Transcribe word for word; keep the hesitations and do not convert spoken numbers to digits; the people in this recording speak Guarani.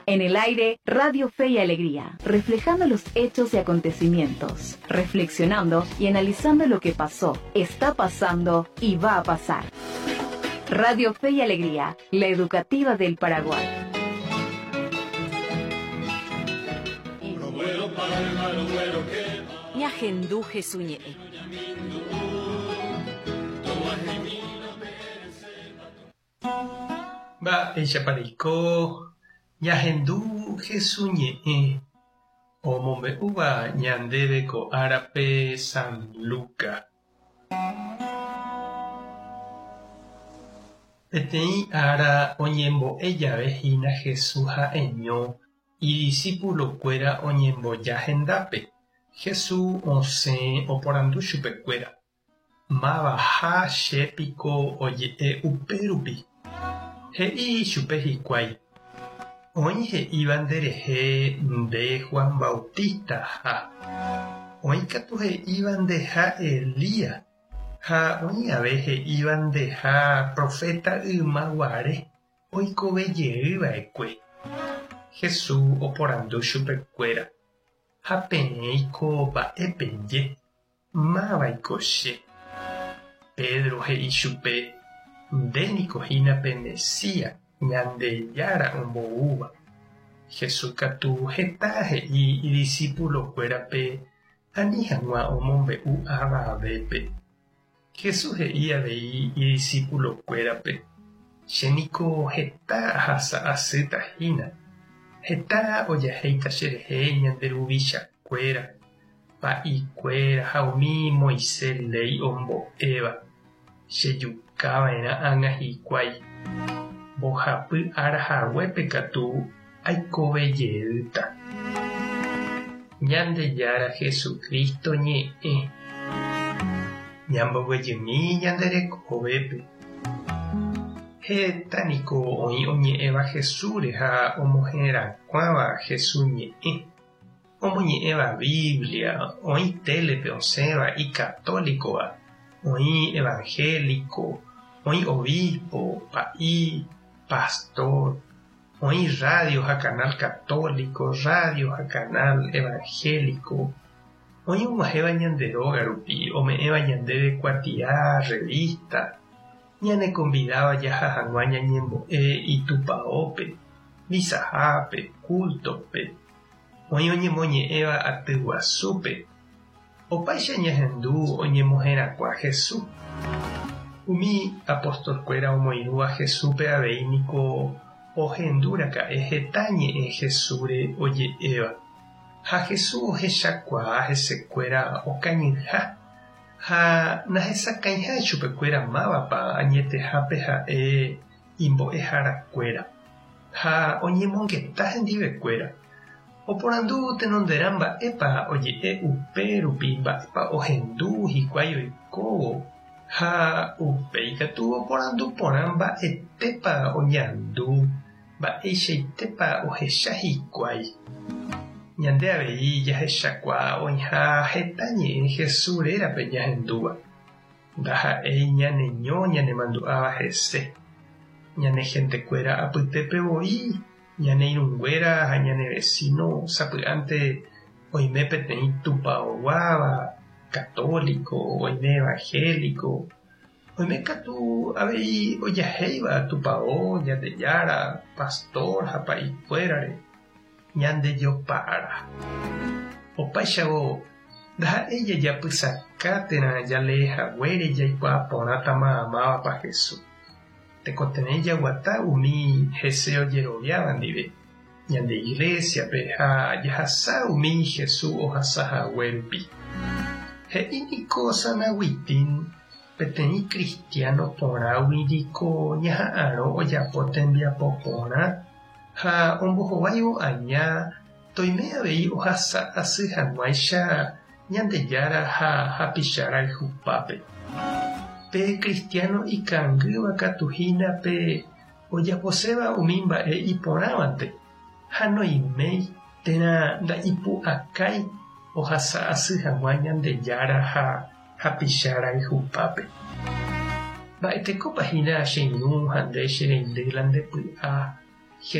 En el aire, Radio Fe y Alegría, reflejando los hechos y acontecimientos, reflexionando y analizando lo que pasó, está pasando y va a pasar. Radio Fe y Alegría, la educativa del Paraguay. Ñahendu Jesús ñe'ẽ. Mba'éichapariko ñahendu Jesús ñe'ẽ omombe'úva ñandéve ko árape San Lucas. Peteĩ ára oñembo'e jave hína Jesús ha'eño idiscípulokuéra oñemboja hendápe. Jesús osẽ oporandu chupekuéra. Mavaha chépiko oje'e upérupi. He'i chupe hikuái. Oĩ he'íva nderehe nde Juan Bautista ha. Oĩ katu he'íva ndeha Elías ha oĩ ave he'íva ndeha profeta ymaguare oikovejeyva'ekue. Jesús oporandu chupekuéra. Ha peẽiko mba'épeje. Mávaiko che. Pedro he'i chupe ndéniko hína pe Mesías Ñandejára omboúva. Jesús katu heta he'i idiscípulokuérape ani hag̃ua omombe'u avavépe. Jesús he'i avei idiscípulokuérape chéniko heta ahasa asýta hína. Heta ojahéita cherehe ñande ruvichakuéra, pa'ikuéra ha umi Moisés léi ombo'éva. Chejukava'erã ág̃a hikuái. Mbohapy ára haguépe katu aikovejeýta. Ñandejára Jesucristo ñe'ẽ. Ñamboguejymi ñande rekovépe. Heta niko oĩ oñe'ẽva Jesúsre ha omoherakuãva Jesús ñe'ẽ. Omoñe'ẽva Biblia, oĩ télepe osẽva icatólicova, oĩ evangélico, oĩ obispo, pa'i, pastor, oĩ radio ha canal católico, radio ha canal evangélico, oĩ og̃uahẽva ñande róga rupi, ome'ẽva ñandéve kuatia, revista, ñaneconvidáva jaha hag̃ua ñañembo'e itupaópe, misahápe, cultope, oĩ oñemoñe'ẽva aty guasúpe. Opáicha ñahendu oñemoherakuã Jesús. Umi apostolkuéra omoirũva Jesúspe avei niko ohendúraka'e heta ñe'ẽ Jesúsre oje'éva. Ha Jesús ohechakuaa hesekuéra okañyha ha nahesakãiha chupekuéra mávapa añetehápe ha'e imbo'eharakuéra ha oñemongeta hendivekuéra. Oporandu tenonderã mba'épa oje'e upérupi mba'épa ohendu hikuái oikóvo ha upéi katu oporandu porã mba'etépa oñandu mba'eichaitépa ohecha hikuái. Ñande avei jahechakuaa oĩha heta ñe'ẽ Jesús rérape ñahendúva. Ndaha'éi ñaneño ñanemandu'áva hese. Ñane gentekuéra apytépe voi, ñane irũnguéra ha ñane vecino sapy'ánte oime peteĩ tupaoguáva, católico, oime evangélico, oime katu avei ojahéiva tupão, Ñandejára, pastor ha pa'ikuérare. Ñandejopara. Opáichavo ndaha'éi jajapysaka térã jaleehaguére jaikuaa porãta mávapa Jesús. Tekotevẽ jaguata umi hese ojeroviáva ndive. Ñande iglesiape ha jahasa umi Jesús ohasahaguérupi. He'i niko San Agustín peteĩ cristiano porãgui niko ñaha'arõ ojapo tembiapo porã ha ombohováivo aña toime avei ohasa asy hag̃uáicha Ñandejára ha hapichara ijupápe. Pe cristiano ikangýva katu hína pe ojaposéva umi mba'e iporãvante ha noiméi térã nda'ipu'akái ohasa asy hag̃ua Ñandejára ha hapichara ijupápe. Mba'etekópa hína che irũ ha nde che reindy la ndepy'a.